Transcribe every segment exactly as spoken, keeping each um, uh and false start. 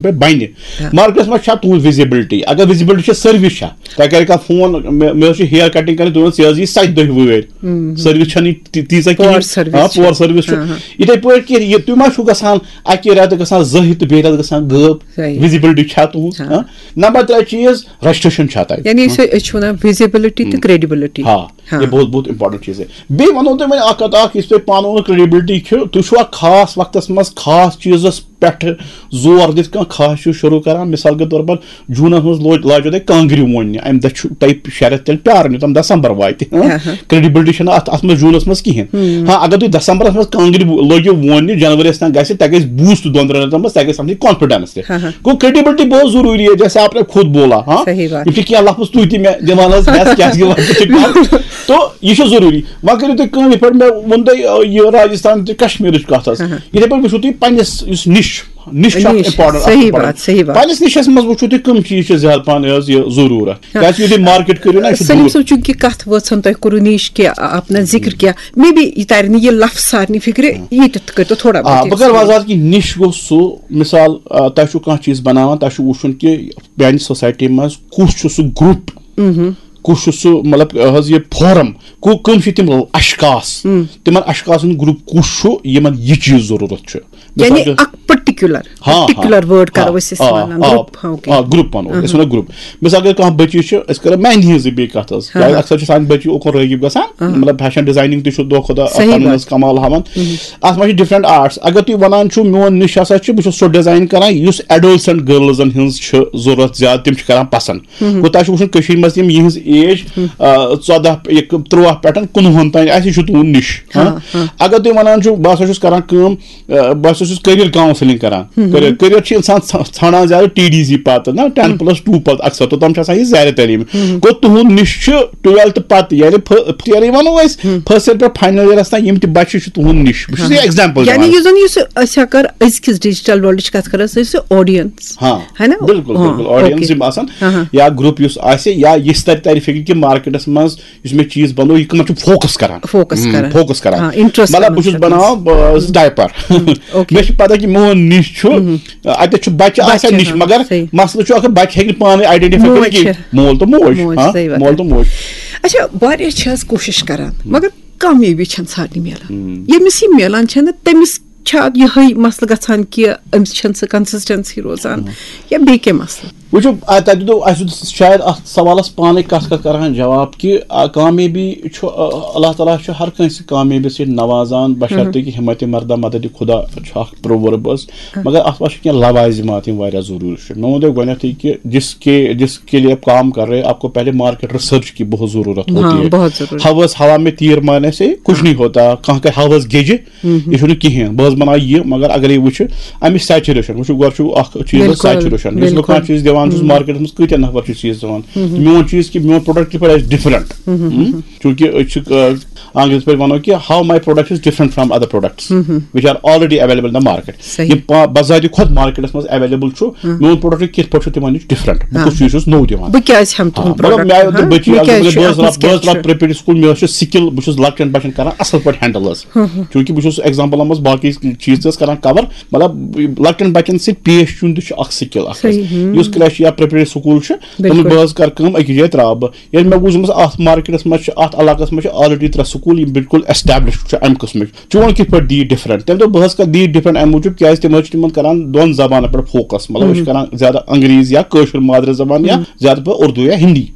پٮ۪ٹھ بَنہِ۔ مارکیٹَس منٛز چھا تُہٕنٛز وِزِبِلٹی؟ اگر وِزِبِلٹی چھِ، سٔروِس چھا؟ تۄہہِ کَرِ کانٛہہ فون، مےٚ مےٚ حظ چھِ ہِیر کَٹِنٛگ کَرٕنۍ، تُہۍ ؤنِو، ژےٚ حظ یی سَتہِ دۄہہِ وٲرۍ۔ سٔروِس چھَنہٕ تی- تیٖژاہ کِہیٖنۍ۔ پور سٔروِس آ، چھِ۔ پور سٔروِس چھُ۔ ہاں، ہاں۔ یِتھَے پٲٹھۍ کہِ یہِ تُہۍ ما چھُو گژھان اَکہِ رٮ۪تہٕ گژھان زٕ ہِتھ تہٕ بیٚیہِ رٮ۪تہٕ گژھان غٲب؟ صحیح۔ وِزِبِلٹی چھا تُہٕنٛز؟ ہاں۔ ہاں؟ نمبر ترٛےٚ چیٖز، رجسٹریشن چھا تۄہہِ؟ یعنی أسۍ أسۍ چھِ وَنان وِزِبِلٹی تہٕ کرٛیڈِبِلٹی۔ ہاں، ہاں۔ یہِ بہت بہت امپورٹنٹ چیٖز ہے۔ بیٚیہِ وَنو تۄہہِ وۄنۍ اَکھ کَتھ اَکھ، یُس تۄہہِ پانہٕ ؤنۍ کرٛیڈِبِلٹی چھِ، تُہۍ چھُوا خاص وقتَس منٛز خاص چیٖزَس پٮ۪ٹھ زور دِتھ کانٛہہ خاص چیٖز شروٗع کران؟ مثال کے طور پر جوٗنَس منٛز لوج لاجو تۄہہِ کانٛگرِ ووننہِ، اَمہِ دۄہ چھُ تۄہہِ شےٚ رٮ۪تھ تیٚلہِ پیٛارُن یوٚتام دسمبر واتہِ۔ ہاں، ہاں۔ کرٛیڈِبِلٹی چھَنہٕ اَتھ اَتھ منٛز جوٗنَس منٛز کِہیٖنۍ۔ ہاں، اگر تُہۍ دسمبرَس منٛز کانٛگرِ لٲگِو ووننہِ، جنؤریَس تام گژھِ، تۄہہِ گژھِ بوٗسٹ دۄن ترٛٮ۪ن رٮ۪تَن منٛز، تۄہہِ گژھِ سَمجھٕنۍ کانفیڈنس تہِ۔ ہاں، ہاں۔ گوٚو کرٛیڈِبِلٹی بہت ضروٗری ہے، جیسے آپ نے خود بولا، ہاں؟ صحیح بات۔ یِم چھِ کینٛہہ لفظ تُہۍ تہِ مےٚ دِوان حظ ہٮ۪س، کیٛازِ کہِ وقت چھُ کم۔ تو یہِ چھُ ضروٗری۔ وۄنۍ کٔرِو تُہۍ کٲم، یِتھ پٲٹھۍ مےٚ ووٚن تۄہہِ، آ، یہِ راجستھان تہٕ کشمیرٕچ کتھ حظ۔ ہاں، ہاں۔ یِتھے پٲٹھۍ وٕچھِو تُہۍ پننِس یُس نِش، نِش چھُ اکھ نِش، important اکھ صحیح important۔ بات، صحیح بات۔ پننِس نِشس منٛز وٕچھِو تُہۍ کٕم چیٖز چھِ زیادٕ پہن حظ یہِ ضروٗرت۔ ہاں۔ کیٛازِ یُتھُے تُہۍ مارکیٹ کٔرِو نا، یہِ چھُ سلیٖم دوٗر۔ صٲب، چوٗنٛکہِ کتھ وٲژ ہن تۄہہِ کوٚروٕ نِش کہِ اپنا ذکر کیا، مے بی یہِ ترِ نہٕ یہِ لفظ سارنٕے فکرِ، ییٚتٮ۪تھ کٔرۍتو تھوڑا آ، بہت بہٕ کرٕ explain۔ وضاحت کہِ نِش گوٚو سُہ، مثال، آ، تۄہہِ چھُو کانٛہہ چیٖز بناوان، تۄہہِ چھُو وٕچھُن کہِ میانہِ سوسایٹی منٛز کُس چھُ سُہ گروپ، کُس چھُ سُہ، مطلب، حظ، یہِ فورم، کو-، کٕم چھِ تِم اشخاص، تِمن اشخاصن ہُنٛد گروپ کُس چھُ، یِمن یہِ چیٖز ضروٗرت چھُ؟ یعنی مثال کے اکھ پٔٹِکیوٗلر، ہاں، ہاں، پٔٹِکیوٗلر وٲڈ کرو آ، أسۍ، أسۍ آ، وَنان آ، گروپ، ہاں، اوکے۔ آ، گروپ وَنو أسۍ، أسۍ وَنو گروپ۔ مثال کے کانٛہہ بٔچی چھِ، أسۍ کرو مہندی ہٕنٛزٕے بیٚیہِ کَتھ حظ۔ ہاں، کیٛازِ ہاں۔ اکثر چھِ سانہِ بٔچی اوکُن رٲغِب گژھان، ہاں۔ مطلب فیشن ڈِزاینِنٛگ تہِ چھُ دۄہ کھۄتہٕ دۄہ صحیح پَنُن بات۔ حظ کمال ہاوان۔ اَتھ منٛز چھِ ڈِفرنٛٹ آرٹس۔ اگر تُہۍ وَنان چھِو، میون نِش ہسا چھُ، بہٕ چھُس سُہ ڈِزاین کران یُس ایڈولسنٹ گٔرلزن ہٕنٛز چھِ ضوٚرتھ زیادٕ، تِم چھِ کران پسنٛد۔ گوٚو تۄہہِ چھُ وٕچھُن کٔشیٖرِ منٛز تِم یِہٕنٛز ایج، آ، ژۄداہ، یہِ تُرٛواہ پٮ۪ٹھ کُنوُہن تام آسہِ، یہِ چھُ تُہُنٛد نِش۔ ہاں، ہاں؟ ہاں۔ اگر تُہۍ وَنان چھِو، بہٕ ہسا چھُس کران کٲم، آ، بہٕ ہسا چھُس کیریئر کاؤنسلنگ کران۔ کیریئر، کیریئر چھُ اِنسان ژھا-، ژھانڈان زیادٕ ٹی ڈی سی پتہٕ نا، ٹین پلس ٹو پتہٕ اکثر، توٚتام چھُ آسان یہِ زیر تعلیٖم۔ گوٚو تُہُنٛد نِش چھُ ٹُویلتھ پتہٕ، یعنی فٔ-، یعنی وَنو أسۍ، فرسٹ ییر پٮ۪ٹھ فاینل ییرس تام یِم تہِ بچہِ چھِ تُہُنٛد نِش۔ بہٕ چھُس یہِ ایگزامپل یعنی دِوان۔ یُس زَن یُس أسۍ اگر أزکِس ڈیجیٹل ورلڈٕچ کَتھ کَرو، سُہ چھُ آڈینس۔ ہاں، ہے نا؟ بِلکُل، ہاں، بِلکُل۔ Audience okay. یِم آسان ہاں، ہاں۔ یا گروپ یُس آسہِ، یا یہِ تَرِ، تَرِ فِکرِ کہِ مارکیٹَس منٛز یُس مےٚ چیٖز بَنوو، یہِ کٕمَن چھُ فوکَس کَران۔ فوکَس ہُم، کَران۔ فوکَس کَران۔ ہاں، انٹرسٹ مطلب، بہٕ کَران چھُس چھُ۔ بَناوان، بہٕ، ڈایپر۔ اوکے۔ مےٚ چھُ پَتہ کہِ میون نِش چھُ، اَتٮ۪تھ چھُ بَچہِ بَچہِ آسان چھِ نِش، آسان، مگر صحیح۔ مسلہٕ چھُ اَکھ، بَچہِ ہیٚکہِ نہٕ پانہٕ آیڈینٹِفاے موج کٔرِتھ کِہیٖنۍ۔ چھِ۔ مول تہٕ موج، موج، ہاں، صحیح بات مول ہے۔ تہٕ موج۔ اچھا، واریاہ چھِ حظ کوٗشِش کَران، مگر کامیٲبی چھَنہٕ سارنٕے میلان۔ ہُم۔ ییٚمِس یہِ میلان چھَنہٕ، تٔمِس چھا یِہوٚے مسلہٕ گژھان کہِ أمِس چھَنہٕ سۄ کنسسٹنسی روزان، یا بیٚیہِ کینٛہہ مسلہٕ؟ وٕچھِو، آ، تۄہہِ دیُتوُ، اَسہِ دیُت شاید اَتھ سوالَس پانَے کَتھ کَتھ کَران جواب کہِ، آ، کامیٲبی چھُ، آ، اللہ تعالیٰ چھُ ہر کٲنٛسہِ کامیٲبی سۭتۍ نوازان، بشرطے کہِ ہمت مردہ مدد خدا چھُ اَکھ پروؤرب حظ۔ مگر اَتھ منٛز چھِ کینٛہہ لوازمات یِم واریاہ ضروٗری چھِ۔ مےٚ ووٚن تۄہہِ گۄڈٕنیتھٕے کہِ جس کے، جس کے لیے آپ کام کر رہے ہیں، آپ کو پہلے مارکیٹ ریسرچ کی بہت ضرورت ہوتی ہے۔ بہت ضروٗری۔ ہوس ہوا میں تیر مارنے سے کچھ نہیں ہوتا۔ کانٛہہ کرِ ہوس گیٚجہِ، یہِ چھُنہٕ کِہیٖنۍ۔ بہٕ حظ بَناو یہِ، مگر اگر یہِ وٕچھِ، اَمِچ سیچوریشن، وٕچھِو، گۄڈٕ چھُ اَکھ چیٖز حظ بِلکُل، سیچوریشن۔ یُس بہٕ بِلکُل۔ کانٛہہ چیٖز دِوان چھُس مارکیٹَس منٛز، کۭتیٛاہ نفر چھِ چیٖز دِوان؟ تہٕ میون چیٖز کہِ میون پروڈکٹ کِتھ پٲٹھۍ آسہِ ڈِفرنٹ؟ چوٗنٛکہِ أسۍ چھِ، آ، آنگریزی پٲٹھۍ وَنو کہِ how my product is different from other products which are already available in the market۔ صحیح۔ یِم پا-، بذاتِ خۄد مارکیٹَس منٛز ایویلیبل چھُ، میون پروڈکٹ کِتھ پٲٹھۍ چھُ تِمن نِش ڈِفرنٹ؟ بہٕ کُس چیٖز چھُس نوٚو دِوان؟ بہٕ کیٛازِ ہٮ۪مہٕ تُہُنٛد ہاں، مطلب، پروڈکٹ؟ مےٚ آیہِ اوترٕ ہاں؟ بٔچی، مےٚ اَتھ کیٛازِ منٛز چھُ، بہٕ حظ اَتھ منٛز رَب-، بہٕ حظ کیٛاہ رَب چھُ؟ پرٛیپریڈ سکوٗل، مےٚ حظ چھُ سِکِل، بہٕ چھُس لۄکٹٮ۪ن بَچَن کران اَصٕل پٲٹھۍ ہینڈل حظ۔ چوٗنٛکہِ بہٕ چھُس ایگزامپلَن منٛز باقٕے چیٖز تہِ حظ کران کور، مطلب، لۄکٹٮ۪ن بَچَن سۭتۍ پیش یُن تہِ چھُ اَکھ سِکِل اَکھ حظ۔ صحیح، ہُم۔ یُس کرٛیش یا پرٛیپریڈ سکوٗل چھُ، تِمَن بِلکُل۔ بہٕ حظ کرٕ کٲم، أکِس جایہِ ترٛاوٕ بہٕ۔ ییٚلہِ مےٚ وُچھ، دوٚپمَس، اَتھ مارکیٹَس منٛز چھِ، اَتھ علاقَس منٛز چھِ already ترٛےٚ سکوٗل، یِم بِلکُل established چھِ اَمہِ قٕسمٕکۍ۔ چون کِتھ پٲٹھۍ دِیہِ ڈِفرنٹ؟ تٔمۍ دوٚپ، بہٕ حظ کَرٕ دِیہِ ڈِفرنٹ اَمہِ موٗجوٗب، کیٛازِ تِم حظ چھِ تِمَن کَران دۄن زبانَن پٮ۪ٹھ فوکَس، مطلب، أسۍ چھِ کَران زیادٕ انگریٖزی یا کٲشُر مادری زبان یا زیادٕ پٲٹھۍ اردو یا ہِندی۔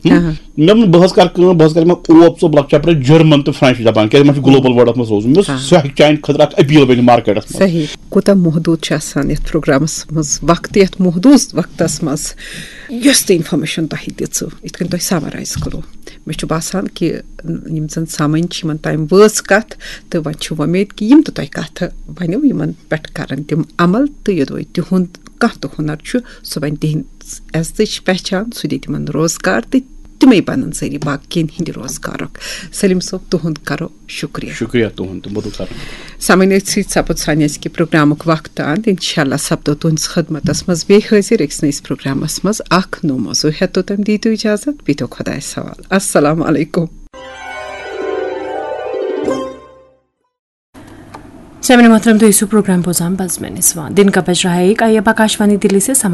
مےٚ ووٚن، بہٕ حظ کَرٕ کٲم، بہٕ حظ کَرٕ یِمَن اوپ ژوپ لۄکچار پٮ۪ٹھ جرمن تہٕ فرٛٮ۪نٛچ زبان، کیٛازِ یِمَن چھُ گلوبل ورلڈَس منٛز روزُن۔ مےٚ دوٚپ، سُہ ہیٚکہِ چانہِ خٲطرٕ اکھ اپیل بٔنِتھ مارکیٹَس منٛز۔ صحیح۔ کوٗتاہ محدوٗد چھُ آسان یَتھ پروگرامَس منٛز وقت، یَتھ محدوٗد وقتَس منٛز یۄس تہِ انفارمیشن تۄہہِ دِژٕو، یِتھ کٔنۍ تۄہہِ سمرائز کوٚروٕ۔ مےٚ چھُ باسان کہِ یِم زَن سامعیٖن چھِ، یِمَن تام وٲژ کَتھ، تہٕ وۄنۍ چھِ وۄمید کہِ یِم تہِ تۄہہِ کَتھٕ ؤنِو، یِمَن پٮ۪ٹھ کَرَن تِم عمل، تہٕ یوٚدوَے تِہُنٛد کانٛہہ تہِ ہُنر چھُ، سُہ بَنہِ تِہِنٛز عزتٕچ پہچان، سُہ دِیہِ تِمَن روزگار، تہٕ تِمَے بَنَن ذٔریعہٕ باقیَن ہِنٛدِ روزگارُک۔ سلیم صٲب، تُہُنٛد کَرو شُکریہ۔ شُکریہ تُہُنٛد تہٕ مدعو کرنہٕ۔ سامعیٖن، أتھۍ سۭتۍ سپُد سانہِ أزکہِ پروگرامُک وقت اند۔ انشاءاللہ سپدو تُہنٛدِس خدمتس منٛز بیٚیہِ حٲضِر أکِس نٔیِس پروگرامس منٛز اکھ نوٚو موضوع۔ ہیتو تمہِ دِیِو تُہۍ اجازت، بیٚہتو خۄدایس حوالہٕ۔ السلام علیکم۔ سامعین محترم، تُہۍ ٲسِو پروگرام بوزان بزمِ نسواں۔ دن کا بج رہا ہے ایک، آئیے اب آکاشوانی دلی سے سماچار